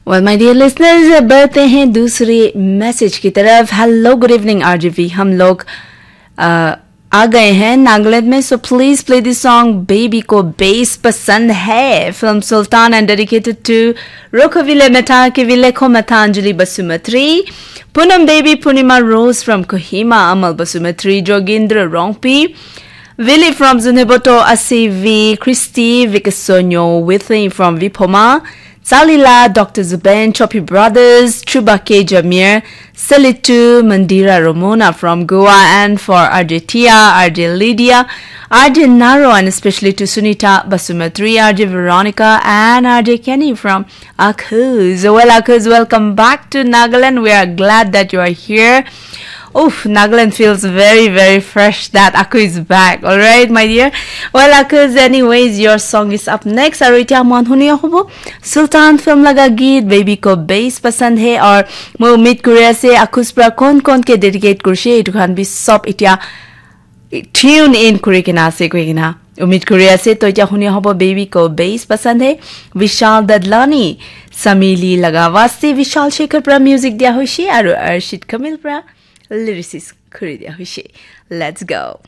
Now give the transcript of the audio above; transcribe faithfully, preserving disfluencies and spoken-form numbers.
Well, my dear listeners, बढ़ते हैं दूसरे मैसेज की तरफ। Hello, good evening, आरजेवी। हम लोग अ, आ गए हैं नागालैंड में। So please play the song Baby को बेस पसंद है, फिल्म सुल्तान, and dedicated to Rokovile Meta, Kivile Komata, Anjali Basumatri, Punam Devi, Purnima Rose from Kohima, Amal Basumatri, Jogindra Rongpi, Willie from Zunheboto, Asivi, Christy, Vikasonyo, Within from Vipoma, Salila, Doctor Zubain, Choppy Brothers, Chubake Jamir, Selitu, Mandira Ramona from Goa, and for R J Tia, R J Lydia, R J Naro, and especially to Sunita Basumatri, R J Veronica, and R J Kenny from Akuz. Well, Akuz, welcome back to Nagaland. We are glad that you are here. Oof, Nagaland feels very, very fresh that Aku is back. All right, my dear. Well, Akuz, anyways, your song is up next. Aru etia mohan huni hobo Sultan film laga geet Baby ko base pasand hai, aur moi umid kuri ase Akuz pra kon kon ke dedicate kurise, etu khan bi sob etia tune in kuri kena ase koi kena umid kuri ase. To etia huni hobo Baby ko base pasand hai, Vishal Dadlani, Samili laga waste Vishal Shekhar pra music dia hoise aru Arshid Kamil pra lyricist kuri dia hoise. Let's go.